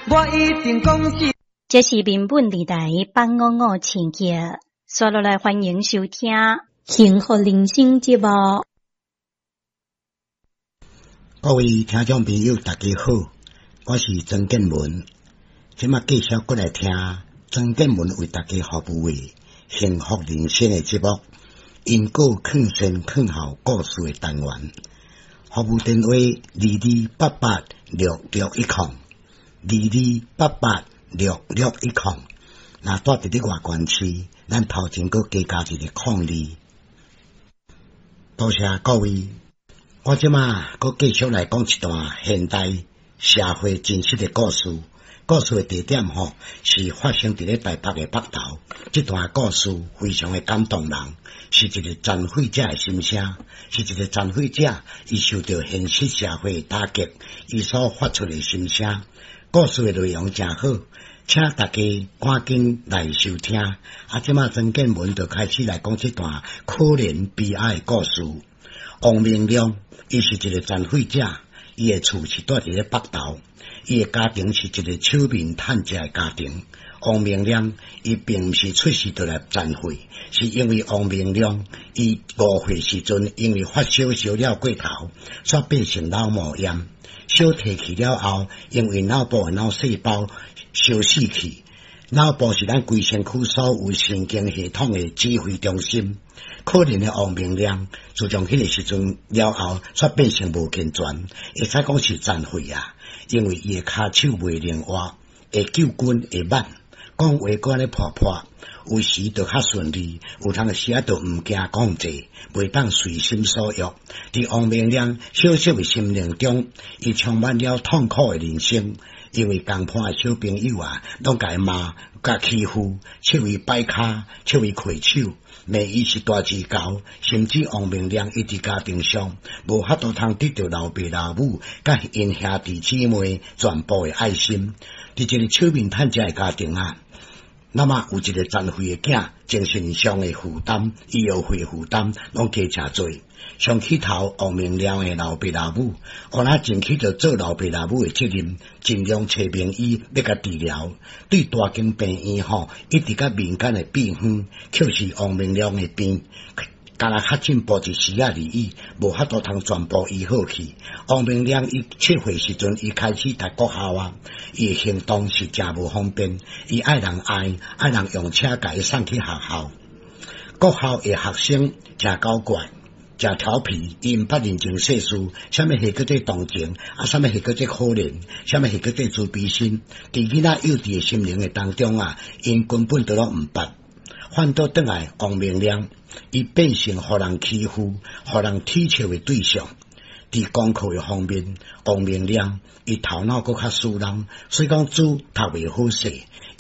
我一定講是。這是民本電台八五五千赫，紲落來歡迎收聽《幸福人生》節目。各位聽眾朋友，大家好，我是曾建文，這馬繼續閣來聽曾建文為大家服務的幸福人生的節目，因果勸善勸孝故事的單元，服務電話22886610，22886610。若蹛佇咧外縣市，咱頭前閣加加一個空二。多謝各位，我這馬閣繼續來講一段現代社會真實的故事。故事的地點吼是發生佇咧台北的北投。這段故事非常的感動人，是一個殘廢者的心聲，是一個殘廢者伊受著現實社會的打擊，伊所發出的心聲。故事的內容誠好，請大家趕緊來收聽。啊，這馬曾建文就開始來講這段可憐悲哀的故事。王明亮，伊是一個殘廢者，伊的厝是蹛佇咧北投，伊的家庭是一個手面趁食的家庭。王明亮伊並毋是出世就來殘廢，是因為王明亮伊5歲時陣，因為發燒燒了過頭，煞變成腦膜炎。小提去了後，因為腦部的腦細胞燒死去。腦部是咱規身軀所有神經系統的指揮中心。可憐的王明亮，自從彼個時陣了後，煞變成無健全，會使講是殘廢啊。因為伊的跤手袂靈活，會糾筋會慢，講話閣按呢破破，有時就較順利，有當時仔就毋驚講濟，袂當隨心所欲。佇王明亮小小的心靈中，伊充滿了痛苦的人生。因為共伴的小朋友啊，攏共伊罵、共欺負，笑伊擺跤，笑伊跍手，罵伊是大舌猴，甚至王明亮伊佇家庭上無法度通得著老爸老母佮𪜶兄弟姊妹全部的愛心。佇一個手面趁食的家庭啊，那麼有一個殘廢的囝，精神上的負擔、醫藥費負擔攏加誠濟。想起頭，王明亮的老爸老母，予若盡起著做老爸老母的責任，盡量揣名醫欲共治療。對大間病院吼，一直佮民間的秘方，卻是王明亮的病，敢若較進步一絲仔而已，無法度通全部醫好去。王明亮伊7歲時陣，伊開始讀國校啊，伊的行動是誠無方便，伊愛人愛，愛人用車共伊送去學校。國校的學生誠古怪，誠調皮，伊毋捌認情世事，啥物戲叫做同情，啊，啥物戲叫做可憐，啥物戲叫做慈悲心。佇囡仔幼稚的心靈的當中啊，𪜶根本都攏毋捌。反倒轉來，王明亮，伊變成予人欺負、予人恥笑的對象。佇功課的方面，王明亮伊頭腦閣較輸人，所以講書讀袂好勢。